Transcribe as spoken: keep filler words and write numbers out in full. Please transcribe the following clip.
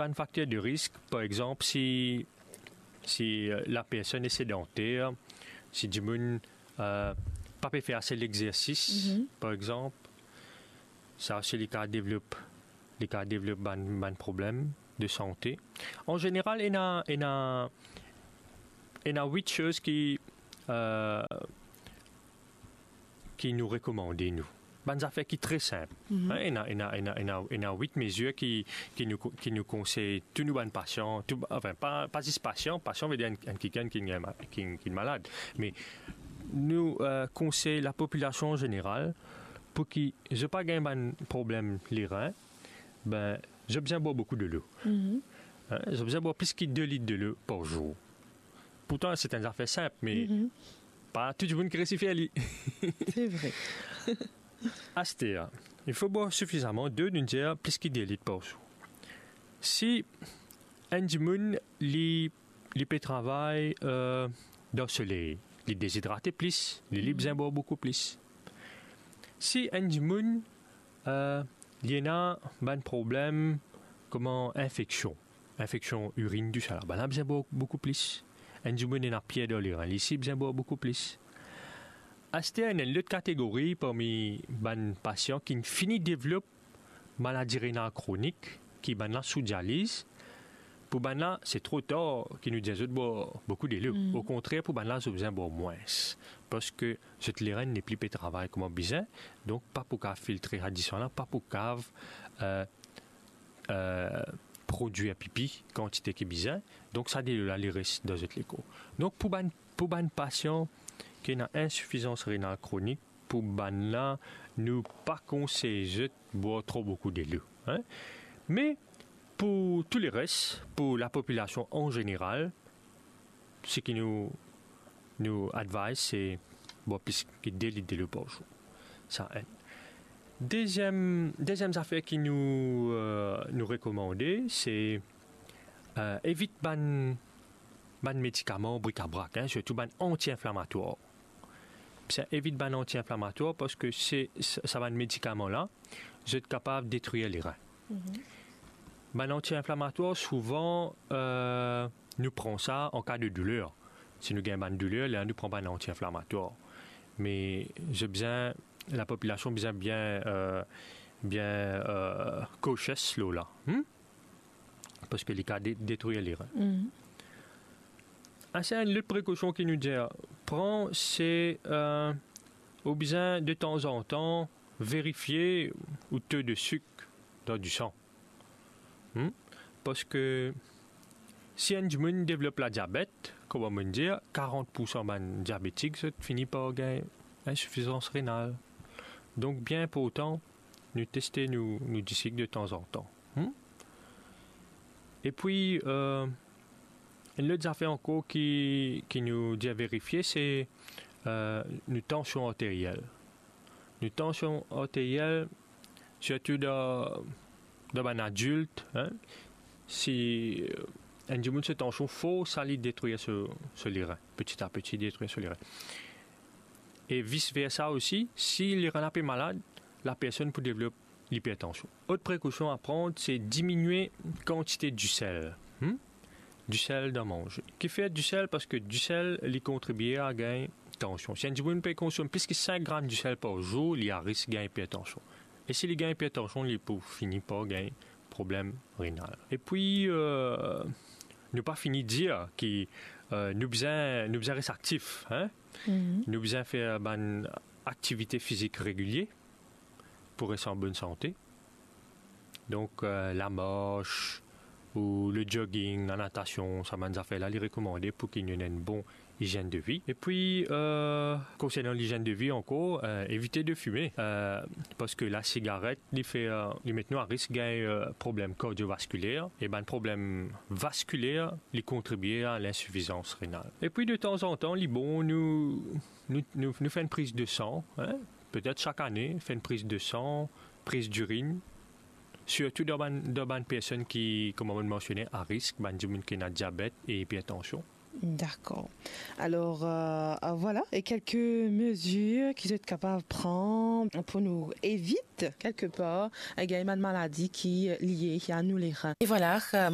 Bann fakter de risk, par exanp, si, si, euh, lapersonn li sedanter, si dimoun, euh, pa pe fer ase lexersis, par exanp, sa osi li kav devlop, li kav devlop bann, bann problem de sante. An zeneral, ena, ena, ena wit soz ki, euh, ki nou rekomande nou. Bann zafer ki tre sinp. Hein, ena, ena, ena, ena, ena wit mezir ki, ki nou ko-, ki nou konsey tou nou bann pasian, tou, anfin, pa, pa zis pasian, pasian ve dir enn, enn kikenn ki, ki, ki malad. Me nou, euh, konsey lapopilasion an zeneral pou ki zot pa gagn bann problem lerin, ben, zot bizin bwar boukou delo. Hein, zot bizin bwar plis ki de lit delo par zour. Pourtan, se enn zafer sinp, me pa tou dimoun ki resi fer li. Se vre. Aster, il fo bwar sifizaman delo, nou dir plis ki de lit par zour. Si enn dimoun, li, li pe travay, euh, dan soley, li dezidrate plis, li, li bizin bwar boukou plis. Si enn dimoun, euh, li ena bann problem kouma infeksion, infeksion irin, tousala, bannla bizin bwar boukou plis. Enn dimoun ena pier dan lerin, li osi bizin bwar boukou plis. Aster, ena enn lot kategori parmi bann pasian ki fini devlop maladi renal kronik, ki bannla sou dializ. Pou bannla, se tro tar ki nou dir zot bwar boukou delo. Okontrer, pou bannla, zot bizin bwar mwins, parski zot lerin nepli pe travay kouma bizin, donk pa pou kav filtre sa disan la, pa pou kav, euh, euh, prodwir pipi kantite ki bizin, donk sa delo la, li res dan zot lekor. Donk pou bann, pou bann pasian ki ena insifizans renal kronik, pou bannla, nou pa konsey zot bwar tro boukou delo, hein. Me pou tou leres, pou lapopilasion an zeneral, seki nou, nou advise, se bwar plis ki de lit delo par zour. Sa enn. Deziem, deziem zafer ki nou, euh, nou rekomande, se, euh, evit bann, bann medikaman brikabrak, hein, sirtou bann anti-inflamatwar. Bizin evit bann anti-inflamatwar, parski se, sa, sa bann medikaman la, zot kapav detrir lerin. Bann anti-inflamatwar, souvan, euh, nou pran sa an ka de douler. Si nou gagn bann douler, lerla nou pran bann anti-inflamatwar. Me zot bizin, lapopilasion bizin bien, euh, bien, euh, cautious lor la. Hmm? Parski li kav de-, detrir lerin. Aster, enn lot prekosion ki nou dir pran, se, euh, ou bizin de tanzantan verifie ou to de sik dan disan. Hmm? Parski si enn dimoun devlop ladiabet, kouma mo'nn dir, karant poursan bann diabetik, zot fini par gagn insifizans renal. Donk, bien inportan, nou teste nou, nou disik de tanzantan. Hmm? Epi, euh, enn lot zafer ankor ki, ki nou dir verifie, se, euh, nou tansion arteriel. Nou tansion arteriel, sirtou dan, dan bann adilt, hein, si, euh, enn dimoun so tansion for, sa li detrir so, so lerin, peti a peti detrir so lerin. E vis versa osi, si lerin la pe malad, lapersonn pou devlop lipertansion. Lot prekosion a pran, se diminie kantite disel. Hmm? Disel dan manze. Kifer disel? Parski disel, li kontribie a gagn tansion. Si enn dimoun pe konsom plis ki sink gram disel par zour, li a risk gagn ipertansion. E si li gagn ipertansion, li pou fini par gagn problem renal. Epi, euh, nou pa fini dir ki, euh, nou bizin, nou bizin res aktif, hein? Nou bizin fer bann aktivite fizik regilie pou res an bonn sante. Donk, euh, lamars, ou le jogging, lanatasion, sa bann zafer la, li rekomande pou ki nou ena enn bon izienn de vi. Epi, euh, konsernan lizienn de vi ankor, euh, evite de fime, euh, parski lasigaret, li fer, euh, li met nou a risk gagn, euh, problem kardiovaskiler, e bann problem vaskiler, li kontribie a linsifizans renal. Epi, de tanzantan, li bon nou, nou, nou, nou fer enn priz de san, hein, petet sak ane, fer enn priz de san, priz dirinn, sirtou dan bann, dan bann personn ki, kouma mo'nn mansione, a risk, bann dimoun ki ena diabet e ipertansion. Dakor. Alor, euh, euh, vwala, e kelke mezir ki zot kapav pran pou nou evit, kelke par, eh, gagn bann maladi ki, euh, lie a nou lerin. E vwala, euh,